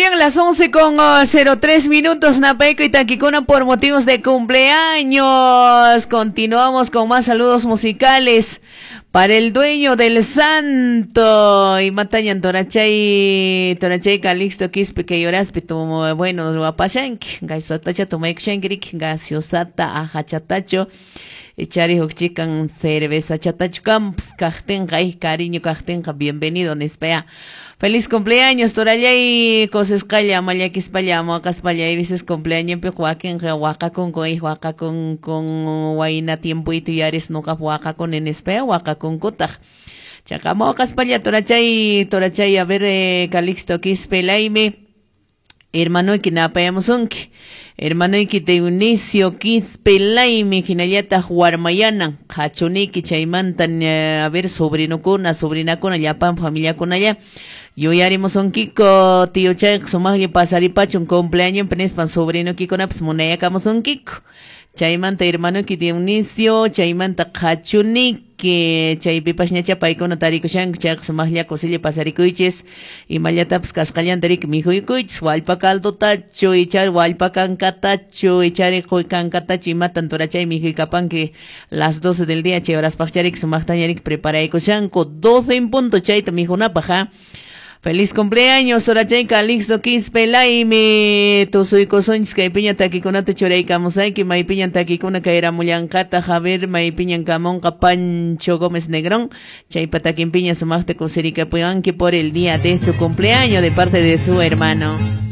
bien, las 11:03, Napeco y Taquicona por motivos de cumpleaños. Continuamos con más saludos musicales para el dueño del santo. Y matañan torachay, torachay Calixto Quispe que lloraspe tu bueno, guapashanki, gaisatacha tumaykushankirik, gaseosata ajachatacho. Echari hukchikan cerveza chatacho camps kajtenqa y cariño kajtenqa bienvenido nispaya. Feliz cumpleaños torallay cosesqalla mallakispalla muaqaspalla y veces cumpleaños pi wakinqa waqakunku y waqakun con wayna tiempuytu yaris nuqap waqakuni nispaya waqakunkutaq. Chaqa muaqaspalla torachay torachay a ver Calixto Quispe Laime. Hermanoyki napayamusunki, hermanoyki Dionisio Quispe Laime, hinallataq warmayanan, qhachuniki chaymanta a ver sobrinukuna, sobrinakuna, llapan familiakunalla, yuyarimusunkiko, tío chayqa sumaqlla pasaripachun cumpleaños nispan sobrinukikunapas munayakamusunkiko. Chaymanta hermanoyki Dionisio, chaymanta qhachuniki, chaypipas ñacha paykuna tarikushanku, chayqa sumaqlla kusilla pasarikuychis, imallatapas kasqallanta riki mikhuyukuychis, wallpa caldotachu, ichari wallpa kankatachu, ichari quy kankatachu, imatan turachay mikhuykapanki las 12 del día, chay horaspaqchariki sumaqtaña riki preparaykushanku, 12 en punto chayta mikhunapaq, ¿ah? Feliz cumpleaños, Orachay Calixto Quispe Laime, tusuykusunchis kaypiña takikunata churaykamusayki, maypiñan takikuna kayramullanqata, Javier, maypiñan kamunqa Pancho Gómez Negrón, chaypa takinpiña sumaqta kusirikapuyanki por el día de su cumpleaños de parte de su hermano.